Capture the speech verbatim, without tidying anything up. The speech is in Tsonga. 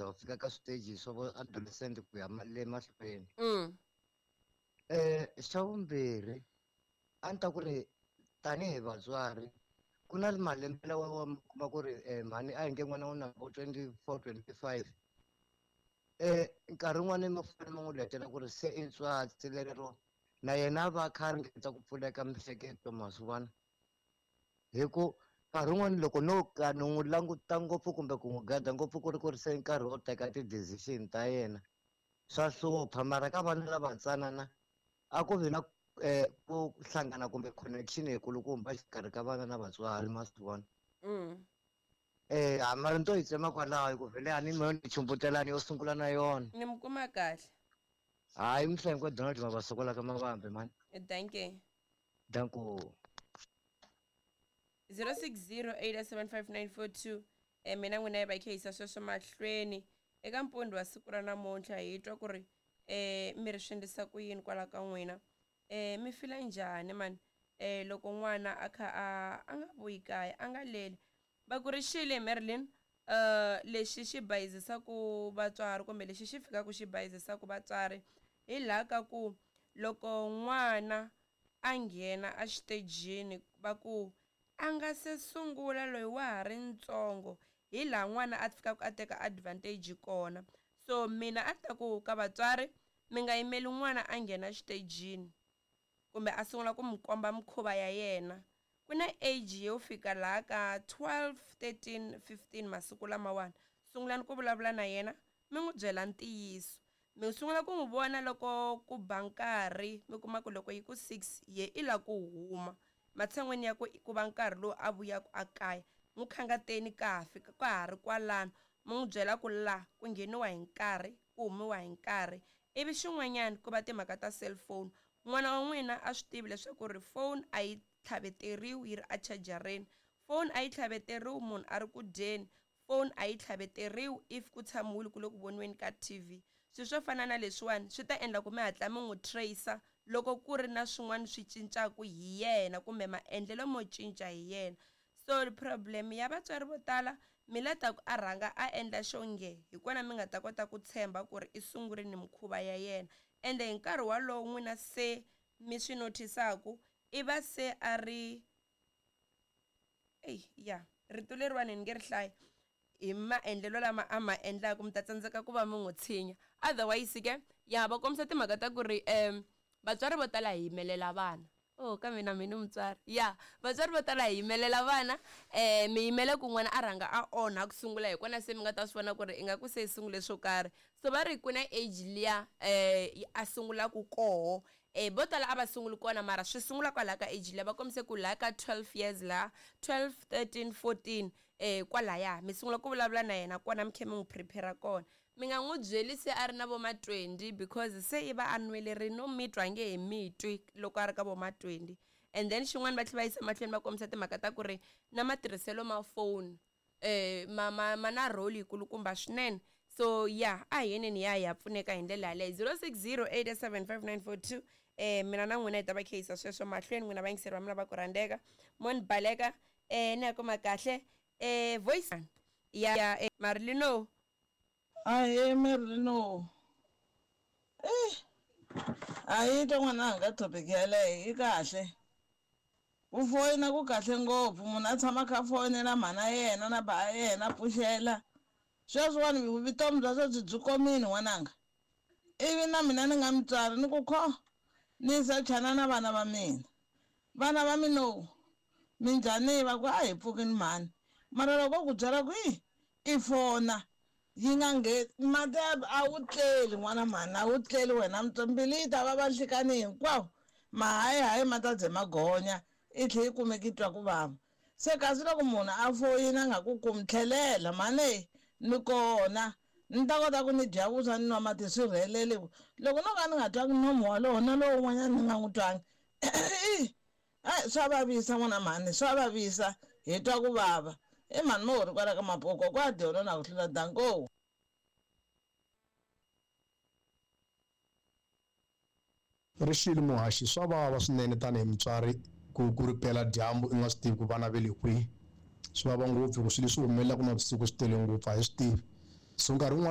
za va fika ka switeji swa vo adolescent ku ya ma- le mahlweni. Mm. Eh xa vumbirhi a ni ta ku ri tanihi vatswari ku na malembe lawa wa mi kuma ku ri eh, mhani a hi nge n'wana u na vo twenty four twenty five eh nkarhi wun'wani ma fanele ma n'wi letela ku ri se i ntswatsi lero na yena a va a kha a ringeta ku pfuleka miehleketo ma swi vona hi ku nkarhi wun'wani loko no ka ni n'wi languta ngopfu kumbe ku n'wi gada ngopfu ku ri ku ri se nkarhi wo teka ti-decision ta yena swa hlupha mara ka vana lava ntsanana a ku vi na eh, ku hlangana kumbe connection yikulukumba exikarhi ka vana na vatswari ma swi vona Mm. eh a mara ni to yi tsema kwalaho hi ku vhele a ni mo ni chumbutelani yo sungula na yona Ni mi kuma kahle. hayi mihlengo Donald Mabasokola ka Mavambe mani Dankie. danko zero six zero eight seven five nine four two eh mina n'wina hi va kha yisa sweswo mahlweni eka mpundi wa siku ra namuntlha hi twa ku ri eh mi ri swi endlisa ku yini kwala ka n'wina eh mi fila njhani mani eh loko n'wana a kha a a nga vuyi kaya a nga leli va ku ri xile Marilyn uh lexi xi bayizisaku vatswari kumbe lexi xi fikaka xi bayizisaku vatswari hi laha ka ku loko n'wana a nghena exitejini va ku a nga se sungula loyi wa ha ri ntsongo hi laha n'wana a fikaka a teka advantage kona so mina a ni ta ku ka vatswari mi nga yimeli n'wana a nghena xitejini kumbe a sungula ku mi komba mikhuva ya yena ku na age yo fika laha ka twelve thirteen fifteen masiku lamawani sungulani ku vulavula na yena mi n'wi byela ntiyiso mi sungula ku n'wi vona loko ku ba nkarhi mi kuma ku loko yi ku six ye i la ku huma matshan'weni ya ku ku va nkarhi lowu a vuyaka a kaya n'wi khangateni ka ha fika ka ha ri kwalano mi n'wi byela ku la ku ngheniwa hi nkarhi ku humiwa hi nkarhi ivi xin'wanyana ku va timhaka ta cellphone n'wana wa n'wina a swi tivi leswaku ri phone a yi tlhaveteriwi yi ri a chajareni phone a yi tlhaveteriwi munhu a ri ku dyeni phone a yi tlhaveteriwi if ku tshamiwile ku le ku voniweni ka T V swilo swo fana na leswiwani swi ta endla ku mi hatla mi n'wi tracer loko ku ri na swin'wana swi cincaku hi yena kumbe maendlelo mo cinca hi yena so problem ya vatswari vo tala mi la ta ku a rhanga a endla xo nge hi kona mi nga ta kota ku tshemba ku ri i sungurini mikhuva ya yena ende hi nkarhi walowo n'wina se mi swi notice-aku i va se a ri eyi ya rito leriwani ni nge ri hlayi hi maendlelo lama a ma endlaku mi ta tsandzeka ku va mi n'wi tshinya otherwise ke ya va kombisa timhaka ta ku ri um vatswari vo tala hi yimelela vana oh kambe na mina mutswari ya vatswari vo tala hi yimelela vana um mi yimele ku n'wana a rhanga a onha ku sungula hi kona se mi nga ta swi vona ku ri ingaku se yi sungule swo karhi so va ri ku na age liya um a sungulaku koho um vo tala a va sunguli kona mara swi sungula kwalaha ka age liya va kombise ku laha ka twelve years laha twelve thirteen fourteen um kwalaya mi sungula ku vulavula na yena kona mi kha mi n'wi prepare kona mi nga n'wi byeli se a ri na vo ma twenty because se i va a nwelerini no mi twa nge he mi twi loko a ri ka vo ma twenty and then xin'wana va tlhela va yisa mahlweni va kombisa timhaka ta ku ri na matirhiselo ma phone eh ma ma ma na role yikulukumba swinene so ya a hi yeneni ya hi ya pfuneka hi ndlela yaleyo zero six zero eight seven five nine four two eh mina na n'wina hi ta va kha yisa sweswo mahlweni n'wina vayingiseri va mina va ku rhandzeka mo ni baleka eh ni ya kuma kahle eh voice ya ya eh, Marilino Ahee Merlino eh a yi twa n'wananga topic yaleyo yi kahle ku foyina ku kahle ngopfu munhu a tshama a kha a foyinela mhana yena na ba yena a pfuxela sweswiwani vutomi bya sweswi byi komile n'wananga ivi na mina ni nga mutswari ni ku kho ni sachana na vana va mina vana va mina minjhani va ku a hi pfukini mhani mara loko ku byela ku i i fona yi nga ngheni mati a wu tleli n'wana mhani a wu tleli wena mbilu yi ta vava nhlikani hinkwawo mahayihayi ma ta ze ma gonya i tlhe yi kumeka yi twa ku vava se kasi loko munhu a foyina a nga ku kumi tlhelela mhani ni kona ni ta kota ku ni dya vuswa ni nwa mati swi rhelele loko no ka ni nga twangi nomu walowo na lowun'wanyana ni nga n'wi twangi a swa vavisa n'wana mhani swa vavisa hi twa ku vava i mhani mo ri kwala ka mapoko kwa dyona na ku hlula danko Rixile muhaxi swa vava swinene tanihi mutswari ku ku ri pela dyambu i nga swi tivi ku vana ve le kwihi swi vava ngopfu hi ku swilo leswi humelelaka navusiku swi tele ngopfu a hi swi tivi so nkarhi wun'wani.